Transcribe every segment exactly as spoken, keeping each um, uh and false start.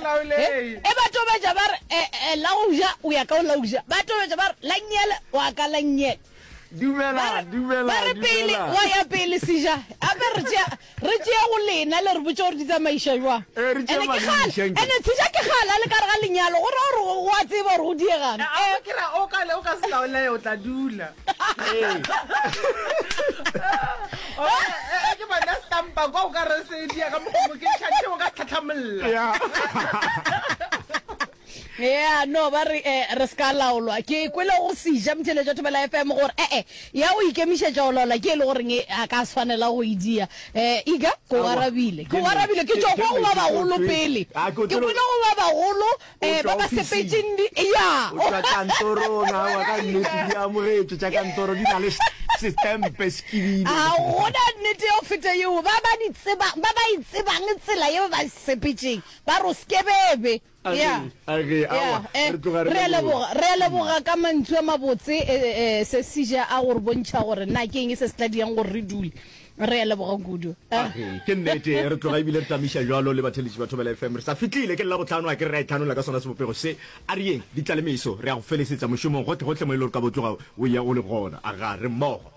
laolege. E ba tobetša ba re eh, eh, la go ja o ya ka o la go ja. Ba tobetša ba re la nnyele wa ka la nnyele. Dumela, Ba re- dumela, ba re pele dumela. wa ya pele seja ape re tšea re tšea go lena le re botse gore di tsamaiša jwang Eh, re tšea ene ke madiša, kgale nke. ene seja ke kgale a le ka re ga lenyalo go ra gore go a tseba gore go diegang A Eh, o ke ra o ka o ka se laolege o tla dula. Ee. O, eh, eh, ke bona stampa kwa o ka re se dia ka mokgwa mo ke tšhantšhe o ka se tlhatlhamolla. Ya. yeah no ba re eh, re se ka laolwa ke kwele go seja motheletša wa Thobela F M gore ee ya go ikemišetša go laola ke e le goreng e, a ka swanela go e dia um ika ko Aowa, arabile ke ko arabile ke nnete, tšwa ke kwa go ba nnete, ke bagolo o pele Ah, ke o ke tlelo- kwele go ba bagolo O um tšwa ba ba ofising. sepetseng di ya O tšwa kantorong, aowa, ka nnete di amogetšwe tša kantoro di na le s- setempe sekibile. A gona nnete ya go feta yeo ba ba di tsebang ba ba e tsebang tsela ye ba ba sepetseng ba re o sekebebe Age, ya age, ya aowa, eh, re tloga re re a leboga. leboga re a leboga ka mantšu a mabotse eh, eh, se seja a gore bontšha gore na ke eng se se tla diang gore re dule re a leboga kudu Ah. Age, ke nnete re tloga ebile re tamiša jalo le batheletši ba Thobela F M re sa fitlile ke Labohlano a ke re ra itlhanola ka sona sebopego se a re yeng di tla le meso re ya go felesetsa mošomong gohle gohle mo e le gore ka bo tloga o ya o le gona aga re mmogo.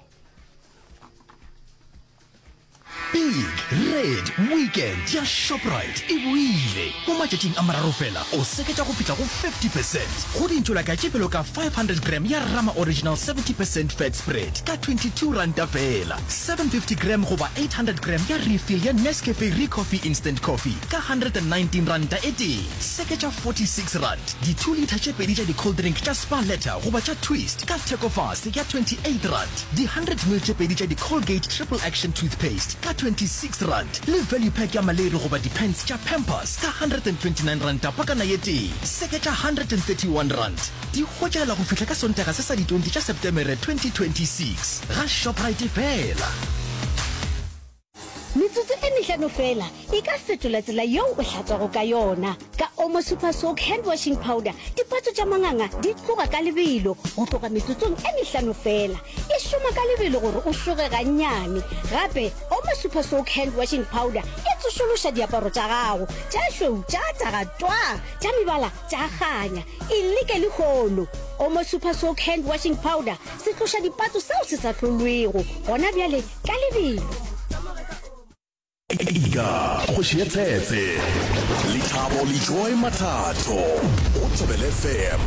Big Red Weekend ya Shoprite e boile. Mo matšatšing a mararo fela, o seketša go fihla go fifty percent go dintšolaka tše bjalo ka five hundred gram ya Rama Original seventy percent fat spread ka twenty-two ranta fela, seven fifty gram goba eight hundred gram ya refill ya Nescafe Recoffee Instant Coffee ka hundred and nineteen ranta e tee, seketša forty-six rand di two litre tše pedi tša di-cold drink tša Spa Letter goba tša Twist ka thekofase ya twenty-eight rand, di hundred mil tše pedi tša di-Colgate Triple Action Toothpaste ka twenty-six rand, le value pack ya maleri goba di-pants tša Pampers ka hundred and twenty-nine ranta pakana ye tee, seketša hundred and thirty-one rand. Di hwetšagala go fihla ka Sontaga se sa di twenty tša Septemere twenty twenty-six ga Shoprite fela. Metsotso e mehlano fela e ka fetola tsela yeo o hlatswago ka yona. Ka Omo Super Soak Hand Washing Powder, dipatso tša manganga di tloga ka lebelo go tloga metsotsong e mehlano fela. E šoma ka lebelo gore o šoge gannyane. Gape Omo Super Soak Hand Washing Powder e tsošološa diaparo tša gago tša šweu tša taga twaa, tša mebala tša kganya. E leke lehono. Omo Super Soak Hand Washing Powder se tloša dipatso seo se sa hlolwego gona bjale ka lebelo. Ika, kgoši ya tshetse. Lethabo le Joy Mathatho go Thobela F M.